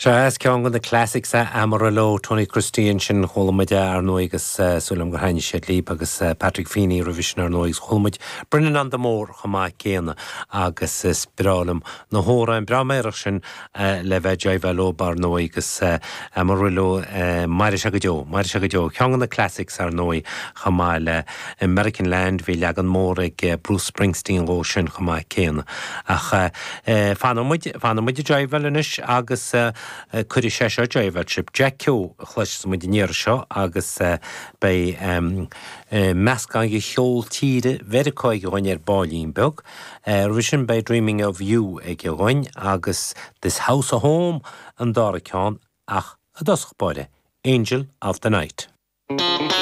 Sea, is ceann de na classics é Amarillo, Tony Christie ansin, chuala muid é ar ndóigh agus súil agam gur thaitnigh sé libh agus Patrick Feeney roimhe sin ar ndóigh agus chuala muid Brendan on the Moor chomh maith céanna agus is breá liom na hamhráin breá meidhreach sin le bheith ag jiveáil leo ar ndóigh agus Amarillo, mairfidh sé go deo, mairfidh sé go deo. Ceann de na classics ar ndóigh chomh maith le American Land, bhí leagan mór ag Bruce Springsteen dhó sin chomh maith céanna. Ach fanfaidh muid, fanfaidh muid ag jiveáil anois agus cuirfidh sé seo ag jiveáil sibh. Jack Keogh a chloisfeas muid an iarraidh seo agus beidh meascán de cheol tíre Mheiriceá aige dhúinn ar baillín beag. Roimhe sin beidh Dreaming of You aige dhúinn agus This House a Home an dara ceann ach i dtosach báire, Angel of the Night.